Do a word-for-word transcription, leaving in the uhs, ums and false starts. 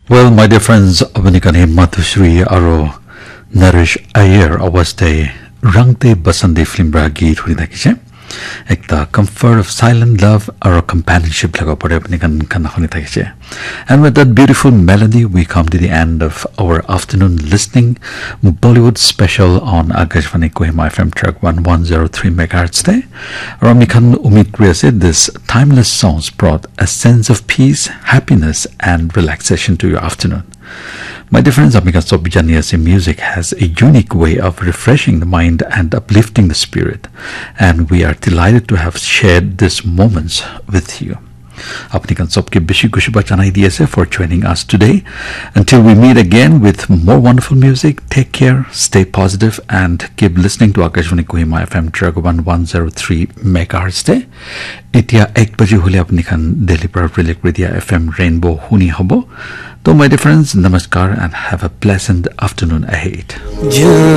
Well, my dear friends, apni khan hi Madhusri aro Naresh Iyer awaz te Rang De Basandi film pra geet huni thakise. Ekta comfort of silent love aro companionship laga pore apni khan khan huni thakise. And with that beautiful melody, we come to the end of our afternoon listening Bollywood special on Akashvani Kohima F M track one one zero three megahertz te. Aro ami khan umid kuri ase, this timeless songs brought a sense of peace, happiness, and relaxation to your afternoon. My dear friends, ami khan sob jani ase, music has a unique way of refreshing the mind and uplifting the spirit. And we are delighted to have shared these moments with you. Apni khan sobke bishi khushi ba janai di ase for joining us today. Until we meet again with more wonderful music, take care, stay positive, and keep listening to Akashvani Kohima F M track one one zero three megahertz te. Etia ek baji hule apni khan Delhi pra relay kuri dia F M Rainbow huni hobo. To my dear friends, namaskar and have a pleasant afternoon ahead.